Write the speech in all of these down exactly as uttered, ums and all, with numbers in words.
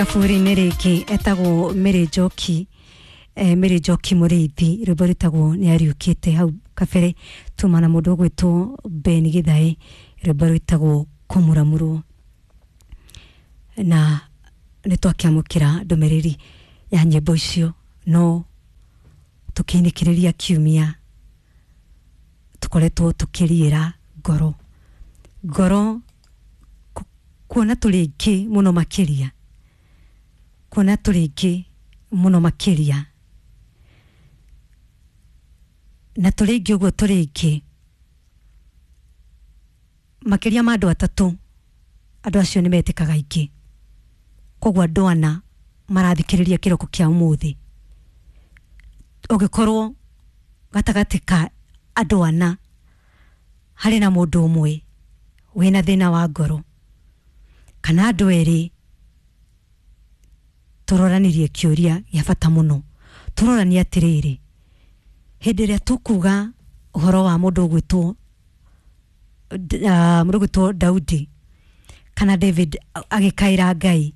Kaburi-inĩ rĩngĩ etagwo Mary Njoki, eh, Mary Njoki Mũrĩithi, rwĩmbo rwĩtagwo nĩ ariũkĩte. Hau kabere tuma na mũndũ ũgwĩtwo Ben Githae, rwĩmbo rwĩtagwo kũmuramurwo. Na nĩ twakĩamũkĩra ndũmĩrĩri ya nyĩmbo icio, no tũkĩinĩkĩrĩria kiumia tũkoretwo tũkĩriĩra ngoro ngoro ku- kuona tũrĩ aingĩ mũno makĩria, kuona tũrĩ aingĩ mũno makĩria, na tũrĩ aingĩ ũguo tũrĩ aingĩ makĩria ma andũ atatũ, andũ acio nĩ metĩkaga aingĩ. Koguo andũ ana marathikĩrĩria kĩroko kĩa ũmũthĩ, ũngĩkorwo gatagatĩ ka andũ ana harĩ na mũndũ ũmwe wĩna thĩna wa ngoro kana andũ erĩ, tũroranirie kĩũria gĩa bata mũno. Tũroranie atĩrĩrĩ, hĩndĩ ĩrĩa tũkuga ũhoro wa mũndũ ũgwĩtwo D- ah, mũndũ ũgwĩtwo Daudi kana David agĩkaĩra Ngai,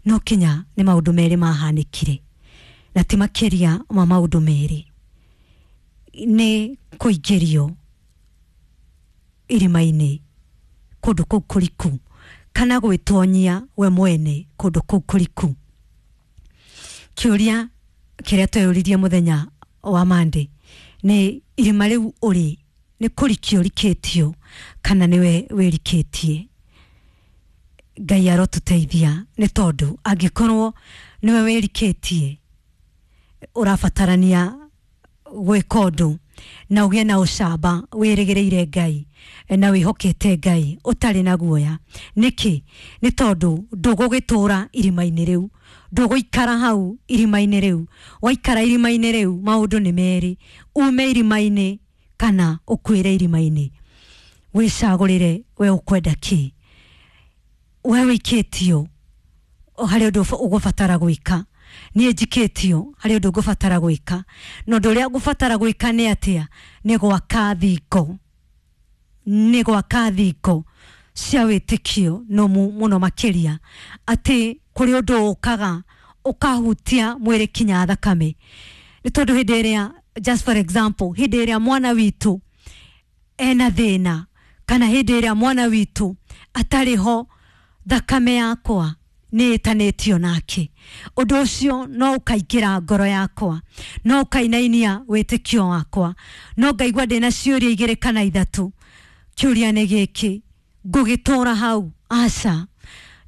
no kinya nĩ maũndũ merĩ mahanĩkire, na ti makĩria ma maũndũ merĩ, nĩ kũingĩrio irima-inĩ kũndũ kũu kũriku kana gwĩtonyia we mwene kũndũ kũu kũriku. Kĩũria kĩrĩa tweyũririe mũthenya wa Monday nĩ irima rĩu ũrĩ nĩ kũrikio ũrikĩtio kana nĩwe wĩrikĩtie? Ngai arotũteithia, nĩ tondũ angĩkorwo nĩwe wĩrikĩtie, ũrabatarania gwĩka ũndũ na ũgĩe na ũcamba, wĩrĩgĩrĩire Ngai na wĩhokete Ngai ũtarĩ na guoya. Nĩkĩ? Nĩ tondũ ndũgũgĩtũra irima-inĩ rĩu, ndũgũikara hau irima-inĩ rĩu. Waikara irima-inĩ rĩu, maũndũ nĩ merĩ, ume irima-inĩ kana ũkuĩre irima-inĩ. Wĩcagũrĩre we ũkwenda kĩ. We wĩikĩtio harĩ ũndũ ũba- ũgũbatara gwĩka, niĩ njikĩtio harĩ ũndũ ngũbatara gwĩka, na ũndũ ũrĩa ngũbatara gwĩka nĩ atĩa? Nĩ gwaka thingo, nĩ gwaka thingo cia wĩtĩkio nũmu mũno makĩria, atĩ kũrĩ ũndũ ũkaga ũkahutia mwĩrĩ kinya thakame. Nĩ tondũ hĩndĩ ĩrĩa, just for example, hĩndĩ ĩrĩa mwana witũ ena thĩna kana hĩndĩ ĩrĩa mwana witũ atarĩ ho, thakame yakwa nĩ ĩtanĩtio nake. Ũndũ ũcio no ũkaingĩra ngoro yakwa, no ũkainainia wĩtĩkio wakwa, no ngaigua ndĩna ciũria igĩrĩ kana ithatũ. Kĩũria nĩ gĩkĩ, ngũgĩtũra hau? Aca.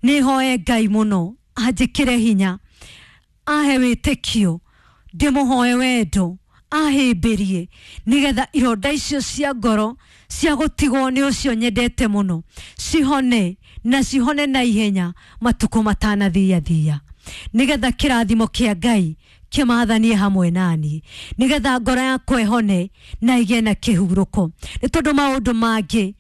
Nĩ hoe Ngai mũno anjĩkĩre hinya, ahe wĩtĩkio, ndĩmũhoe wendo, ahĩmbĩrie, nĩgetha ironda icio cia ngoro cia gũtigwo nĩ ũcio nyendete mũno cihone, na cihone na ihenya matukũ matanathiathia, nĩgetha kĩrathimo kĩa Ngai kĩmathanie hamwe naniĩ, nĩgetha ngoro yakwa ĩhone na ĩgĩe na kĩhurũko. Nĩ tondũ maũndũ mangĩ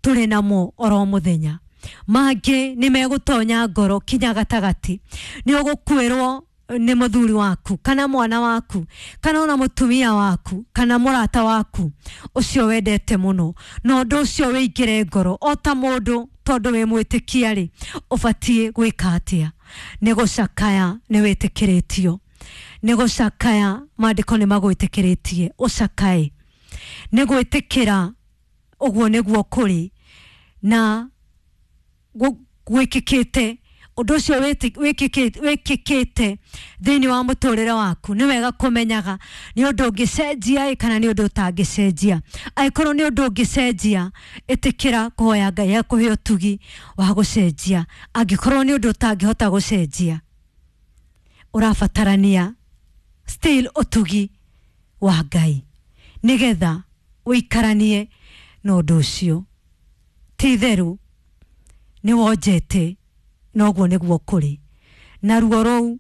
tũrĩ namo oro mũthenya, mangĩ nĩ megũtonya ngoro kinya gatagatĩ. Nĩ ũgũkuĩrwo nĩ mũthuri waku kana mwana waku kana ona mũtumia waku kana mũrata waku ũcio wendete mũno, na ũndũ ũcio wĩingĩre ngoro o ta mũndũ. Tondũ wĩ mwĩtĩkia rĩ, ũbatiĩ gwĩka atĩa? Nĩ gũcakaya, nĩ wĩtĩkĩrĩtio nĩ gũcakaya, maandĩko nĩ magwĩtĩkĩrĩtie ũcakae, nĩ gwĩtĩkĩra ũguo nĩguo kũrĩ na gũ- gwĩkĩkĩte ũndũ ũcio wĩtĩ- wĩkĩkĩ- wĩkĩkĩte thĩinĩ wa mũtũrĩre waku. Nĩ wega kũmenyaga nĩ ũndũ ũngĩcenjia ĩ kana nĩ ũndũ ũtangĩcenjia. Angĩkorwo nĩ ũndũ ũngĩcenjia, ĩtĩkĩra kũhoya Ngai akũhe ũtugi wa gũcenjia. Angĩkorwo nĩ ũndũ ũtangĩhota gũcenjia, ũrabatarania still ũtugi wa Ngai nĩgetha ũikaranie na ũndũ ũcio. Ti itherũ nĩ wonjete, noguo nĩguo kũrĩ na ruo rũu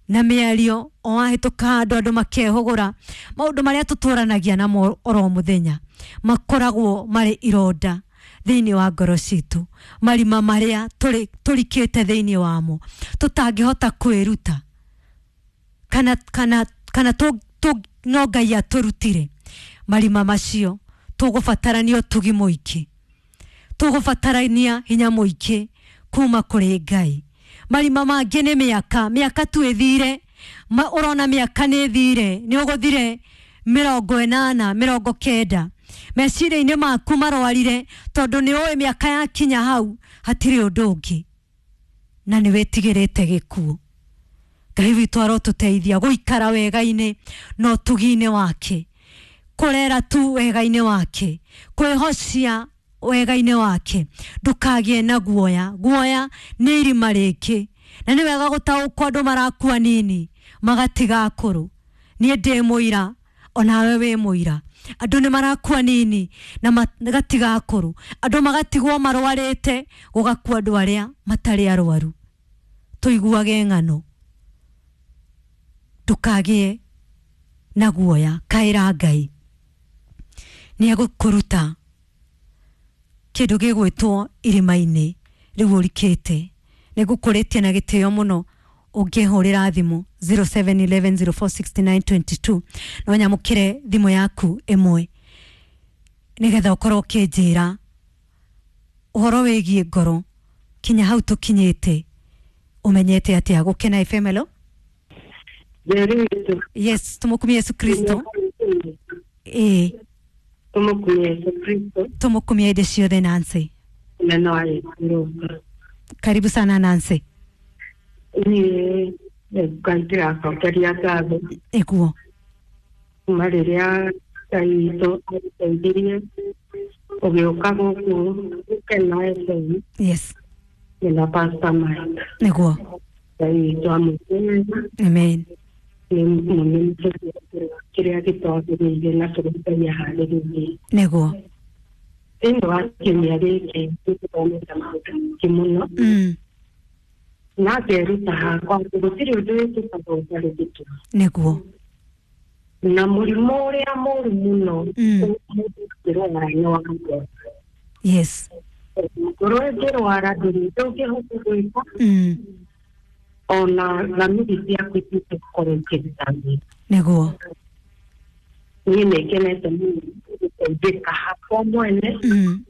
na mĩario o wahĩtũka handũ andũ makehũgũra. Maũndũ marĩa tũtũranagia namo oro mũthenya makoragwo marĩ ironda thĩinĩ wa ngoro citũ, marima marĩa tũrĩ- tũrikĩte thĩinĩ wamo tũtangĩhota kwĩruta kana kana kana tũ, tũ, no Ngai atũrutire marima macio. Tũgũbatarania ũtugi mũingĩ, tũgũbatarania hinya mũingĩ kuma kũrĩ Ngai. Marima mangĩ nĩ mĩaka, mĩaka tu ĩthire. Ma ũrona mĩaka nĩ ĩthire, nĩ ũgũthire mĩrongo ĩnana, mĩrongo kenda. Meciria-inĩ maku marwarire tondũ nĩ ũĩ mĩaka yakinya hau hatirĩ ũndũ ũngĩ, na nĩ wĩtigĩrĩte gĩkuũ. Ngai witũ arotũteithia gũikara wega-inĩ na ũtugi-inĩ wake, kũrera tu wega-inĩ wake, kwĩhocia wega-inĩ wake. Ndũkagĩe na guoya. Guoya nĩ irima rĩngĩ, na nĩ wega gũtaũkwo andũ marakua nini magatiga akũrũ. Niĩ ndĩ mũira, onawe wĩ mũira. Andũ nĩ marakua nini na magatiga akũrũ, andũ magatigwo marwarĩte, gũgakua andũ arĩa matarĩ arwaru. Tũiguage ng'ano. Ndũkagĩe na guoya, kaĩra Ngai nĩ egũkũruta kĩndũ gĩgwĩtwo irima-inĩ rĩu ũrikĩte. Nĩ ngũkũrĩtie na gĩtĩo mũno ũngĩhũrĩra thimũ zero seven eleven zero four sixty nine twenty two, no nyamũkĩre thimũ yaku ĩmwe nĩgetha ũkorwo ũkĩnjĩra ũhoro wĩgiĩ ngoro kinya hau tũkinyĩte, ũmenyete atĩa. Gũkena F M, hello. Yes, tumukumie Yesu Kristo. Ĩĩ, Tumukumie Yesu Kristo. Tumukumie hĩndĩ ciothe. Nancy, Neno wa karibu sana Nancy. Niĩ Ngai ndĩracokeria ngatho Ĩguo kuma rĩrĩa Ngai witũ agũteithirie ũgĩũka gũkũ Gũkena F M. Yes. Na Pastor Mike. Nĩguo. Ngai witũ amũteithie. Amen. Nĩ mũnene kĩrĩa gĩtwagĩrĩire na kĩrĩa Ngai aharĩrĩirie. Nĩguo. Thĩinĩ wa kiumia gĩkĩ nĩtũthomete maũndũ maingĩ mũno. Mm. Na ngeruta hakwa atĩ gũtirĩ ũndũ wĩkĩkaga ũtarĩ gĩtũmi. Nĩguo. Na mũrimũ ũrĩa mũru mũno Mm. mũndũ angĩrwara nĩ wa ngoro. Yes. Ngoro ĩngĩrwara ndũrĩ ũndũ ũngĩhota gwĩka. Mm. Ona thamiri ciaku ituĩke gũkorwo ikĩruta wĩra. Nĩguo. Niĩ nĩ ngenete mũno gũteithĩka hakwa mwene. Mm.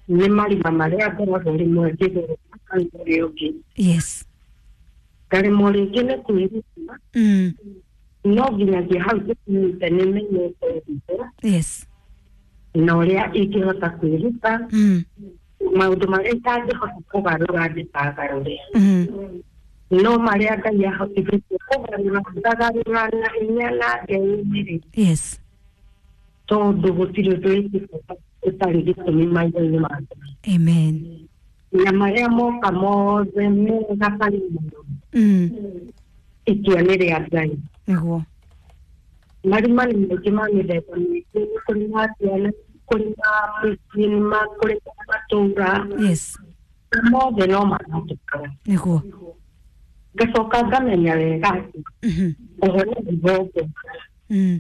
Nĩ marima marĩa ngoragwo rĩmwe ngĩgerera kana ũrĩa ũngĩ. Yes. Ngaremwo rĩngĩ nĩ kwĩruta. Mm. No nginyagia hau tũkinyĩte nĩ menyete hitho. Yes. Na ũrĩa ingĩhota kwĩruta. Mm. Maũndũ marĩa itangĩhota kũgarũra ndĩkagarũre. Mm. No marĩa Ngai ahotithĩtie kũgarũra ngagarũra na hinya na ngeyũmĩrĩria. Yes. Tondũ gũtirĩ ũndũ wĩkĩte ũtarĩ gĩtũmi maitho-inĩ ma Ngai. Amen. Na marĩa moka mothe mega kana moru. Mm. Itua nĩ rĩa Ngai. Nĩguo. Marima nĩ maingĩ ma mĩthemba mĩingĩ, nĩ kũrĩ ma ciana, kũrĩ ma mĩciĩ, nĩ ma kũrĩ ma matũũra. Yes. Mothe no maratũkana. Nĩguo. Ngacoka ngamenya wega atĩ Mhm. ũhoro nĩ igongona. Mm.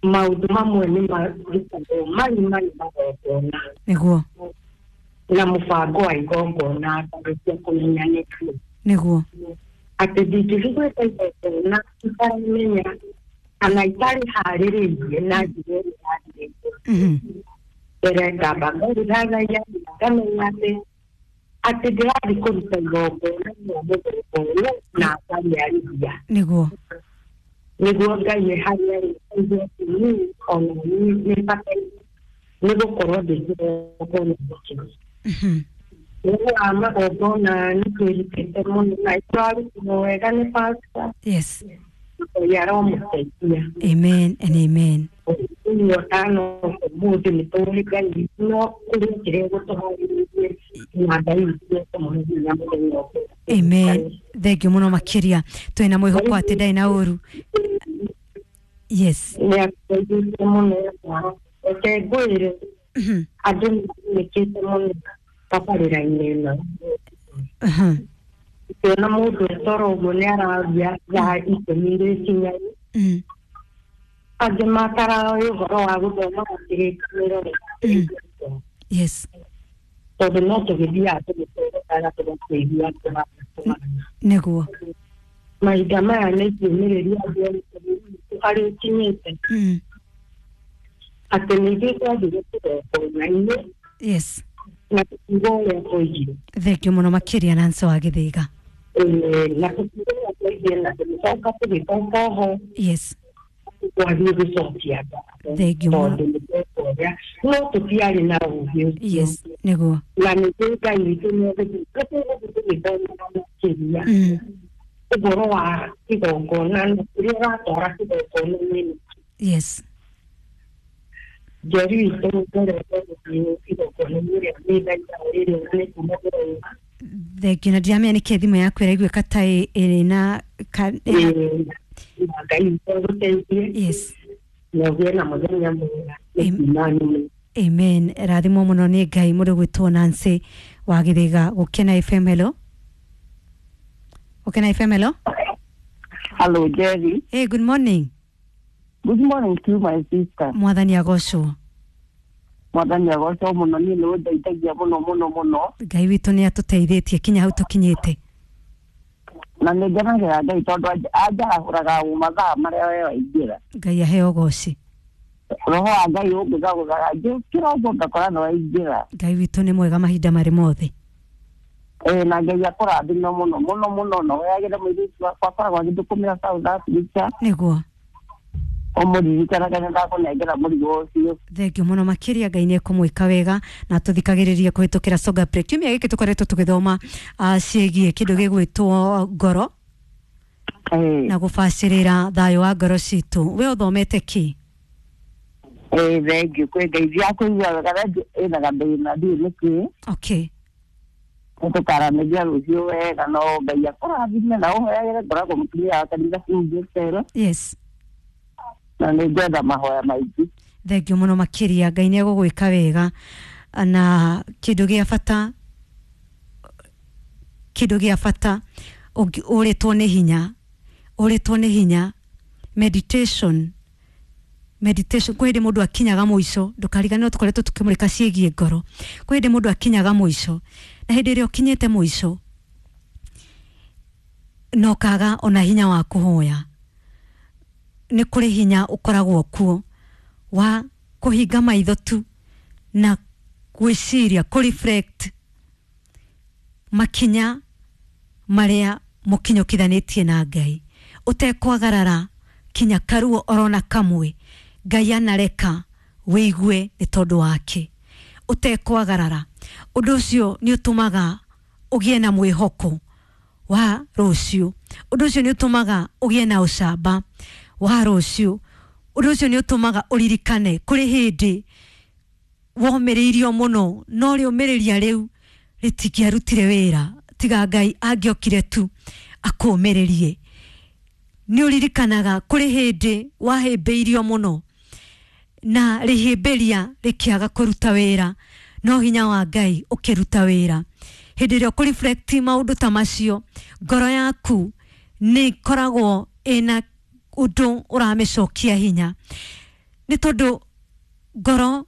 Maũndũ mamwe nĩ marutagwo marima nĩ magongona. Nĩguo. Na mũbango wa igongona ngarĩkia kũmenya nĩkĩ. Nĩguo. Atĩ ndingĩthiĩ gwĩka igongona itaramenya kana itarĩ harĩrĩirie na njĩra ĩrĩa yagĩrĩire. Mhm. Mbere ngamba ngeriragia ngamenya atĩ atĩ ndĩrathiĩ kũruta igongona rĩa mũthemba ũyũ na ngarĩarĩria. Nĩguo. Nĩguo Ngai e harĩa arĩ aigue atĩ niĩ ona niĩ nĩ bataire nĩ gũkorwo ndĩ kĩgongona gĩkĩ. Mhm. Ũhoro wa magongona nĩ twĩrutĩte mũno na tũrarutirwo wega nĩ pastor. Yes. Ngai aromũteithia. Amen and amen. Ũyũ ũtano ũmũthĩ nĩ tũĩ Ngai no kũrĩ kĩrĩa gũtũharĩrĩirie na Ngai witũ nĩekũmũhe hinya mũthenya ũngĩ. Amen. Thank you mũno makĩria. Twĩna mwĩhoko atĩ ndarĩ na ũru. Yes. Nĩ atũteithĩtie mũno. Reke ngwĩre Mhm. andũ nĩ magunĩkĩte mũno tabarĩra-inĩ ĩno. Mhm. Ũkĩona mũndũ etoro ũguo nĩ araria thaa ikũmi rĩkinya. Mm. Angĩ mataraoĩ ũhoro wa gũthoma kĩrĩkanĩro. Mm. Yes. Tondũ no tũgĩthiaga tũgĩtũrũkaga tũgakĩigua tũratũmana. Nĩguo. Mahinda maya nĩ ingĩũmĩrĩria andũ othe harĩa ũkinyĩte. Mm. Atĩ nĩ ithuĩ twathire kĩgongona-inĩ. Yes. Na tũkiuga ũrĩa twaigire. Thengio mũno makĩria Nancy wa Gĩthĩga. Ĩĩ, na tũkiuga ũrĩa twaigire na tũgĩcoka tũgĩcoka ho. Yes. Twathiĩ gũcokia ngatho Thengio mũno. tondũ nĩ tweka ũrĩa no tũtiarĩ na ũgĩ ũcio. Yes, nĩguo. Na nĩkĩo Ngai witũ nĩegũthiĩ tũgũthiĩ tũgĩthomaga makĩria Mm. ũhoro wa kĩgongona na kũrĩa ũratwara kĩgongona-inĩ. Yes. Njeri witũ ngorete gũthiĩ kĩgongona-inĩ ĩrĩa nĩ thaita rĩrĩa nĩ kuma kũraihu. Thengio, na ndiramenya nĩkĩ thimũ yaku ĩraiguĩka ta ĩ- ĩrĩ na ka- ĩna- Ĩĩ, na Ngai witũ agũteithie Yes. na ũgĩe na mũthenya mwega Am- nĩ kuma nĩ. Amen. Rathimwo mũno nĩ Ngai. Mũndũ gwĩtwo Nancy wa Gĩthĩga. Gũkena F M, hello. Gũkena F M, hello. Hello, Jerry. Hey, good morning. Good morning to you, my sister. Mwathani agocwo. Mwathani agocwo mũno, niĩ nĩ ũndeithagia mũno mũno mũno. Ngai witũ nĩ atũteithĩtie kinya hau tũkinyĩte. Na nĩ ngenagĩra Ngai tondũ anja- anjarahũraga o mathaa marĩa we waingĩra. Ngai aheo goci. Roho wa Ngai ũngĩgagũthaga njũkĩra ũguo ngakora nĩ waingĩra. Ngai witũ nĩ mwega mahinda marĩ mothe. Ĩĩ, na Ngai akũrathime mũno mũno mũno na ũheagĩre mũirĩtu wakwa akoragwo agĩthũkũmĩra South Africa. Nĩguo. Ũmũririkanaga nĩ ndakũnengera mũrigo ũcio. Thengio mũno makĩria. Ngai nĩ ekũmwĩka wega na tũthikagĩrĩrie kũhĩtũkĩra Songa Break. Kiumia gĩkĩ tũkoretwo tũgĩthoma uh, ciĩgiĩ kĩndũ gĩgwĩtwo ngoro Ĩĩ. na gũbacĩrĩra thayũ wa ngoro citũ. We ũthomete kĩ? Ĩĩ, thengio kwĩ Ngai ndiakũigua wega rĩngĩ ĩna gathĩna ndiũĩ nĩkĩ. Okay. Nĩtũkaranĩria rũciũ wega no Ngai akũrathime na ũhoyagĩre ngoragwo mũtumia wa kanitha kũu Yes. na nĩ ngwenda mahoya maingĩ. Thengio mũno makĩria. Ngai nĩ egũgwĩka wega na kĩndũ gĩa bata, kĩndũ gĩa bata ũngĩ- ũrĩtwo nĩ hinya, ũrĩtwo nĩ hinya, meditation, meditation. Kwĩ hĩndĩ mũndũ akinyaga mũico, ndũkariganĩrwo tũkoretwo tũkĩmũrĩka ciĩgiĩ ngoro. Kwĩ hĩndĩ mũndũ akinyaga mũico, na hĩndĩ ĩrĩa ũkinyĩte mũico na ũkaga ona hinya wa kũhoya, nĩ kũrĩ hinya ũkoragwo kuo wa kũhinga maitho tu na gwĩciria, kũ-reflect makinya marĩa mũkinyũkithanĩtie na Ngai ũtekwagarara kinya karuo orona kamwe Ngai anareka wĩigue nĩ tondũ wake ũtekwagarara. Ũndũ ũcio nĩ ũtũmaga ũgĩe na mwĩhoko wa rũciũ. Ũndũ ũcio nĩ ũtũmaga ũgĩe na ũcamba wa rũciũ. Ũndũ ũcio nĩ ũtũmaga ũririkane kũrĩ hĩndĩ womĩrĩirio mũno no rĩũmĩrĩria rĩu rĩtingĩarutire wĩra tiga Ngai angĩokire tu akũmĩrĩrie. Nĩ ũririkanaga kũrĩ hĩndĩ wahĩmbĩirio mũno na rĩhĩmbĩria rĩkĩaga kũruta wĩra no hinya wa Ngai ũkĩruta wĩra. Hĩndĩ ĩrĩa ũkũreflect maũndũ ta macio, ngoro yaku nĩ ĩkoragwo ĩna ũndũ ũramĩcokia hinya, nĩ tondũ ngoro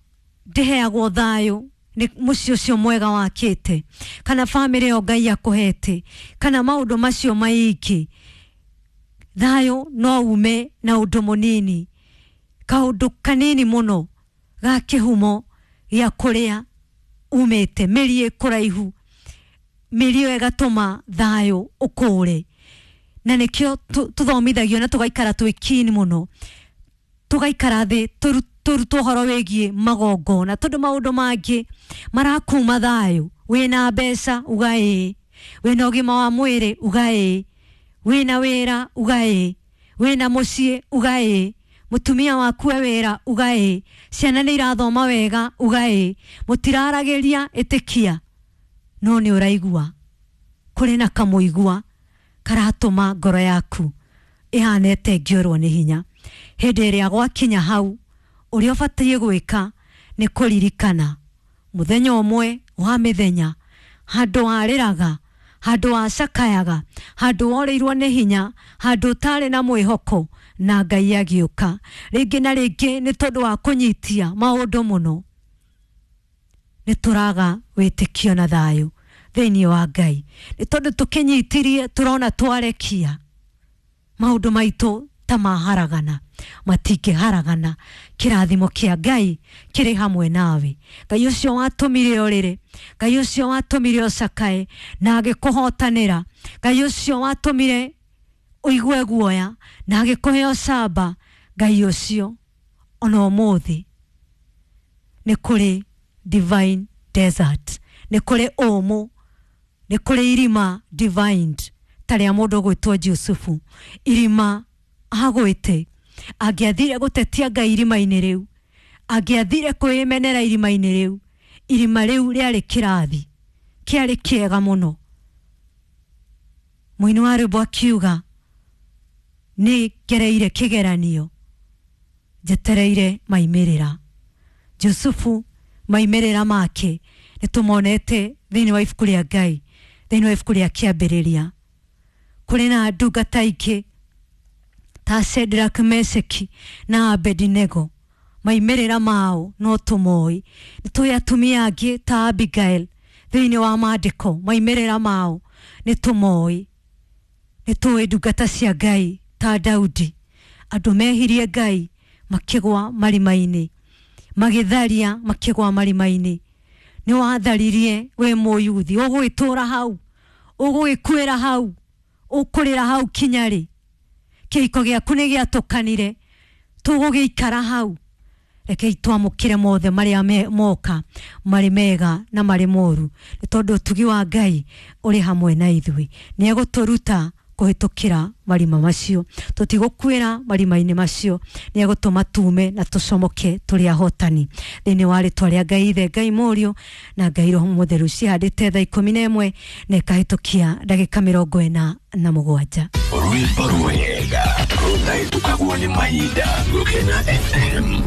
ndĩheagwo thayũ nĩ mũciĩ ũcio mwega wakĩte kana bamĩrĩ ĩyo Ngai akũhete kana maũndũ macio maingĩ. Thayũ no ume na ũndũ mũnini, kaũndũ kanini mũno ga kĩhumo gĩa kũrĩa umĩte, mĩri ĩ kũraihu, mĩri ĩyo ĩgatũma thayũ ũkũre. Na nĩkĩo tũthomithagio na tũgaikara twĩ keen mũno, tũgaikara thĩ tũrutwo ũhoro wĩgiĩ magongona, tondũ maũndũ mangĩ marakuma thayũ. Wĩna mbeca uga ĩĩ, wĩna ũgima wa mwĩrĩ uga ĩĩ, wĩna wĩra uga ĩĩ, wĩna mũciĩ uga ĩĩ, mũtumia waku e wĩra uga ĩĩ, ciana nĩ irathoma wega uga ĩĩ, mũtiraragĩria ĩtĩkia, no nĩ ũraigua kũrĩ na kamũigua karatũma ngoro yaku ĩhane ta ĩngĩũrwo nĩ hinya. Hĩndĩ ĩrĩa gwakinya hau, ũrĩa ũbatiĩ gwĩka nĩ kũririkana mũthenya ũmwe wa mĩthenya, handũ warĩraga, handũ wacakayaga, handũ worĩirwo nĩ hinya, handũ ũtarĩ na mwĩhoko, na Ngai agĩũka rĩngĩ na rĩngĩ. Nĩ tondũ wa kũnyitia maũndũ mũno, nĩ tũraga wĩtĩkio na thayũ thĩinĩ wa Ngai, nĩ tondũ tũkĩnyitirie tũrona twarekia maũndũ maitũ ta maharagana, matingĩharagana. Kĩrathimo kĩa Ngai kĩrĩ hamwe nawe. Ngai ũcio watũmire ũrĩre, Ngai ũcio watũmire ũcakae na agĩkũhotanĩra, Ngai ũcio watũmire ũigue guoya na agĩkũhe ũcamba, Ngai ũcio ona ũmũthĩ nĩ kũrĩ divine desert, nĩ kũrĩ ũmũ, nĩ kũrĩ irima divined ta rĩa mũndũ ũgwĩtwo Jusufu, irima agwĩte. Angĩathire gũtetia Ngai irima-inĩ rĩu, angĩathire kwĩmenera irima-inĩ rĩu, irima rĩu rĩarĩ kĩrathi kĩarĩ kĩega mũno. Mũini wa rwĩmbo akiuga nĩ ngereire kĩgeranio njetereire maimĩrĩra. Jusufu maimĩrĩra make nĩ tũmonete thĩinĩ wa ibuku rĩa Ngai, thĩinĩ wa ibuku rĩa Kĩambĩrĩria. Kũrĩ na ndungata ingĩ ta Shadrach, Meshaki na Abednego, maimĩrĩra mao no tũmoĩ. Nĩ tũĩ atumia angĩ ta Abigail thĩinĩ wa maandĩko, maimĩrĩra mao nĩ tũmoĩ. Nĩ tũĩ ndungata cia Ngai ta Daudi, andũ mehirie Ngai makĩgwa marima-inĩ, magĩtharia makĩgwa marima-inĩ. Nĩ watharirie wĩ mũyuthi, ũgũgĩtũra hau, ũgũgĩkuĩra hau, ũkũrĩra hau kinya rĩ? Kĩhiko gĩaku nĩ gĩatũkanire, tũgũgĩikara hau? Rekei twamũkĩre mothe marĩa moka, marĩ mega na marĩ moru, nĩ tondũ ũtugi wa Ngai ũrĩ hamwe na ithuĩ. Nĩ egũtũruta kũhĩtũkĩra marima macio, tũtigũkuĩra marima-inĩ macio, nĩ egũtũma tume na tũcomoke tũrĩ ahotani. Thĩinĩ wa rĩtwa rĩa Ngai Ithe, Ngai Mũriũ na Ngai Roho Mũtheru. Cihandĩte thaa ikũmi na ĩmwe na ĩkahĩtũkia ndagĩka mĩrongo ĩna na mũgwanja. Rwĩmbo rwega rũtahĩtũkagwo nĩ mahinda. Gũkena F M.